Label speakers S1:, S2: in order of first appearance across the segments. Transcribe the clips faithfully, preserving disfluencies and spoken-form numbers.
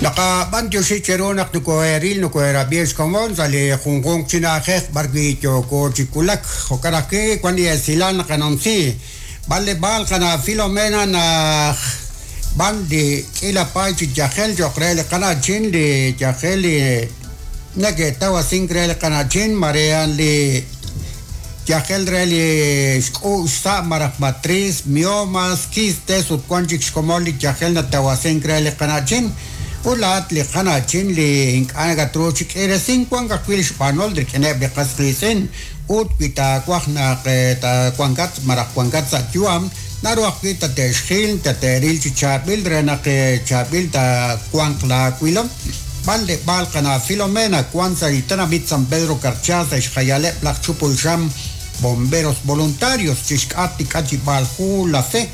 S1: Naqab'antioxi cheru naq nokoheril nokoherab'i xkomon sa' li junjunq chi na'ajej b'ar wi' yooko chi wulak jo'kan ajwi' wan li esilal naqanumsi b'anleb'aal qana' Filomena naj b'an li k'iila paay chi yajel cho'q re li qana'chin li yajel li nake'tawasink re li qana'chin marean li yajel re li xk'u'x sa' maraj matriz, miomas, quistes ut wan chik xkomon li yajel natawasink re li qana'chin ulaat li qana'chin li ink'a' nakatru chi k'iiresink wan ajwi' li xb'anol rik'ineb' li qas qiitz'in ut wi taawaj naq taawankat maraj wankat sa' yu'am naru ajwi' tate'xjil tate'ril chi chaab'il re naq chaab'il taawanq laawilom b'anleb'aal qana' Filomena wan sa' li tenamit San Pedro Carchá sa' xjayaleb' laj chupulxam bomberos voluntarios chi xk'at li k'achib'aal ju La Fe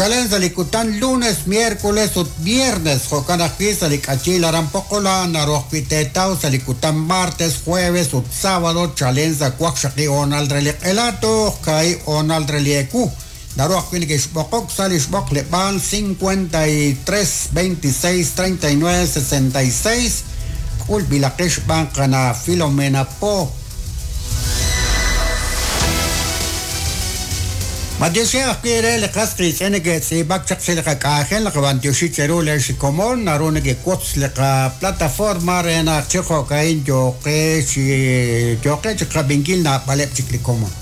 S1: chalen sa' li kutan lunes, miércoles ut viernes jo'kan ajwi' sa' li k'achil aran Poqola naru ajwi' teetaw sa' li kutan martes, jueves ut sábado chalen sa' waqxaqi hoonal re li q'ela toj kaahib' hoonal re li ewu naru ajwi' neke'xb'oqok sa' li xb'oqleb'aal cincuenta y tres, veintiséis, treinta y nueve, sesenta y seis k'ulb'ilaqex xb'aan qana' Filomena Po. Matioxi ajwi' re li qas qiitz'in neke'tz'iib'ak chaq sa' li qak'anjel naqab'antioxi cheru le xikomon naru nekewotz li qaplataforma re naq chi jo'ka'in yooqe chi yooqe chi qab'inkil naab'aleb' chik li komon.